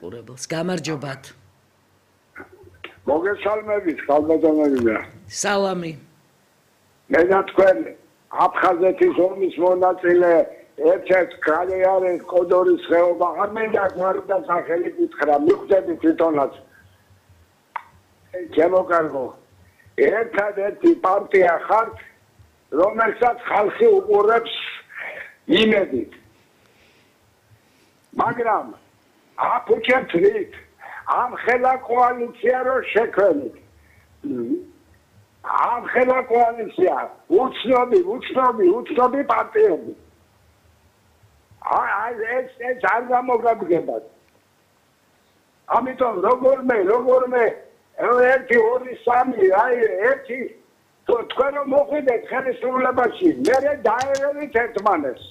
მაყურებელს. გამარჯობათ. მოგესალმებით, ხალხადამაგია. სალამი. მე და თქვენ აფხაზეთის ომის მონაწილე ერთ-ერთ კარიერის კოდორის ხეობა არ მინდა გვარდა სახელი გითხრა, მიხვდები თვითონაც. ჩემო კარგო, ერთადერთი პარტია ხართ, რომელსაც ხალხი უყურებს იმედით. მაგრამ აფუჭებთ ამ ხელა კოალიცია რო შექმნით. ამ ხელა კოალიცია უცნობი პარტიები. ეს არ გამოგაბგებათ. ამიტომ როგორმე ერთი ორი სამი ერთი თქვენ რომ მოხვიდეთ ხელისუფლებაში მე დაერევით ერთმანეთს.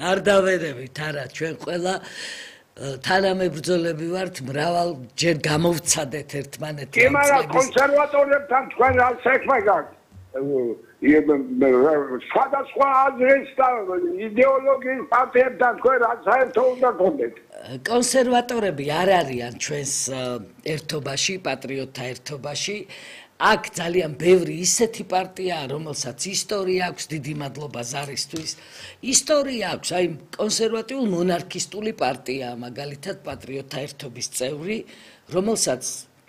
არ დავერევით არა ჩვენ ყველა თანამებრძოლები ვართ მრავალჯერ გამოვცადეთ ერთმანეთი. კი მაგრამ კონსერვატორებთან თქვენ რა საქმე გაქვთ? სხვადასხვა აზრის და იდეოლოგიის პარტიებთან თქვენ რა საერთო უნდა გქონდეთ? კონსერვატორები არ არიან ჩვენს ერთობაში, პატრიოტთა ერთობაში. აქ ძალიან ბევრი ისეთი პარტიაა, რომელსაც ისტორია აქვს, დიდი მადლობა ზარისთვის. ისტორია აქვს, აი კონსერვატიულ მონარქისტული პარტიაა, მაგალითად პატრიოტთა ერთობის წევრი, რომელსაც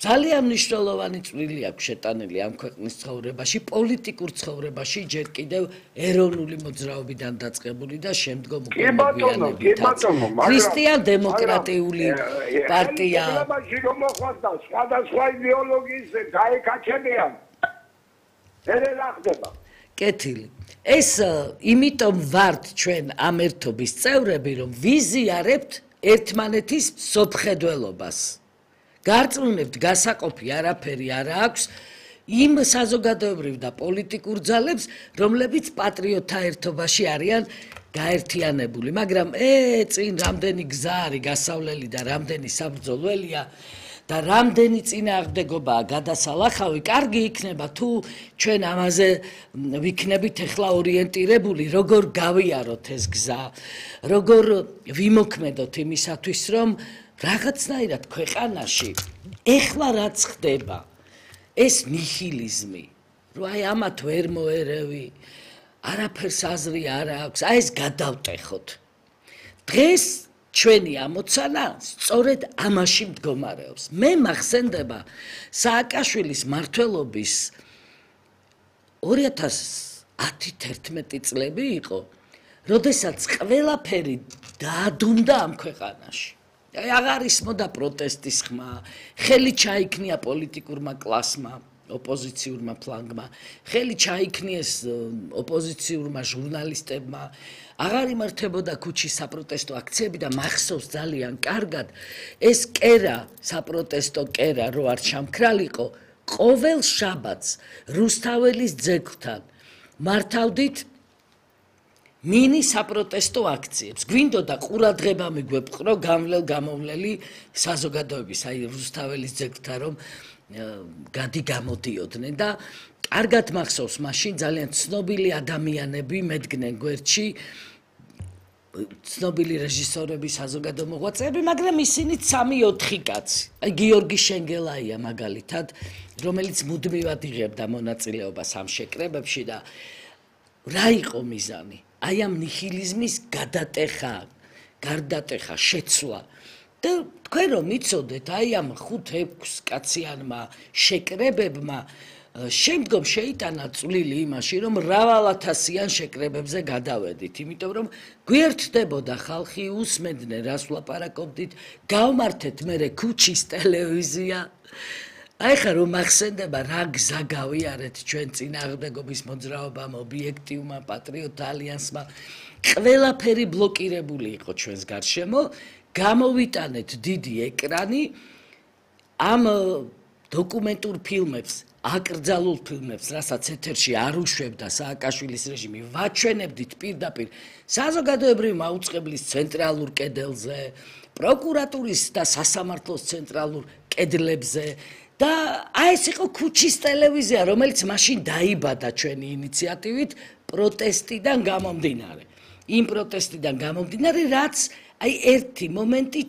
ძალიან მნიშვნელოვანი წვლილი აქვს შეტანილი ამ ქვეყნის ცხოვრებაში, პოლიტიკურ ცხოვრებაში, ჯერ კიდევ ეროვნული მოძრაობიდან დაწყებული და შემდგომ უკვე მოგვიანებითაც. ქრისტიან-დემოკრატიული პარტია. სხვადასხვა იდეოლოგიის გაეკაჩებიან. ერე რა ხდება? კეთილი. ეს იმიტომ ვართ ჩვენ ამ ერთობის წევრები, რომ ვიზიარებთ ერთმანეთის სოფხედველობას. გარწმუნებთ გასაყოფი არაფერი არ აქვს იმ საზოგადოებრივ და პოლიტიკურ ძალებს, რომლებიც პატრიოტთა ერთობაში არიან გაერთიანებული, მაგრამ წინ რამდენი გზა არის გასავლელი და რამდენი საბრძოლველია და რამდენი წინააღმდეგობაა გადასალახავი, კარგი იქნება თუ ჩვენ ამაზე ვიქნებით ახლა ორიენტირებული, როგორ გავიაროთ ეს გზა, როგორ ვიმოქმედოთ იმისათვის, რომ რაღაცნაირად ქვეყანაში ეხლა რაც ხდება ეს ნიჰილიზმი რომ აი ამათ ვერ მოერევი არაფერს აზრი არ აქვს აი ეს გადავტეხოთ დღეს ჩვენი ამოცანა სწორედ ამაში მდგომარეობს მე მახსენდება სააკაშვილის მმართველობის 2010-11 წლები იყო როდესაც ყველაფერი დაადუნდა ამ ქვეყანაში აღარ ისმოდა პროტესტის ხმა, ხელი ჩაიქნია პოლიტიკურმა კლასმა, ოპოზიციურმა ფლანგმა, ხელი ჩაიქნიეს ოპოზიციურმა ჟურნალისტებმა, აღარ იმართებოდა ქუჩის საპროტესტო აქციები და მახსოვს ძალიან კარგად ეს კერა, საპროტესტო კერა რო არ ჩამქრალიყო, ყოველ შაბათს რუსთაველის ძეგლთან მართავდით მინი საპროტესტო აქციებს. გვინდოდა ყურადღება მიგვეპყრო გამოვლელი საზოგადოების, აი რუსთაველის ძეგლთან რომ გამოდიოდნენ და კარგად მახსოვს მაშინ ძალიან ცნობილი ადამიანები მედგნენ გვერდში, ცნობილი რეჟისორები, საზოგადო მოღვაწეები, მაგრამ ისინი 3-4 კაცი. აი გიორგი შენგელაია მაგალითად, რომელიც მუდმივად იღებდა მონაწილეობას ამ შეკრებებში და რა იყო მიზანი? აი ამ ნიჰილიზმის გარდატეხა, შეცვლა. და თქვენ რომ იცოდეთ, აი ამ 5-6 კაციანმა შეკრებებმა შემდგომ შეიტანა წვლილი იმაში, რომ მრავალათასიან შეკრებებზე გადავედით, იმიტომ რომ გვერდდებოდა ხალხი, უსმენდნენ რას ვლაპარაკობდით, გავმართეთ მერე ქუჩის ტელევიზია. აი ხა რომ ახსენდება რა გზა გავიარეთ ჩვენ წინააღმდეგობის მოძრაობამ, ობიექტივმა, პატრიოტთა ალიანსმა, ყველაფერი ბლოკირებული იყო ჩვენს გარშემო, გამოვიტანეთ დიდი ეკრანი ამ დოკუმენტურ ფილმებს, აკრძალულ ფილმებს, რასაც ეთერში არ უშვებდა სააკაშვილის რეჟიმი, ვაჩვენებდით პირდაპირ საზოგადოებრივი მაუწყებლის ცენტრალურ კედელზე, პროკურატურის და სასამართლოს ცენტრალურ კედლებზე და აი ეს იყო ქუჩის ტელევიზია, რომელიც მაშინ დაიბადა ჩვენი ინიციატივით პროტესტიდან გამომდინარე. იმ პროტესტიდან გამომდინარე, რაც აი ერთი მომენტი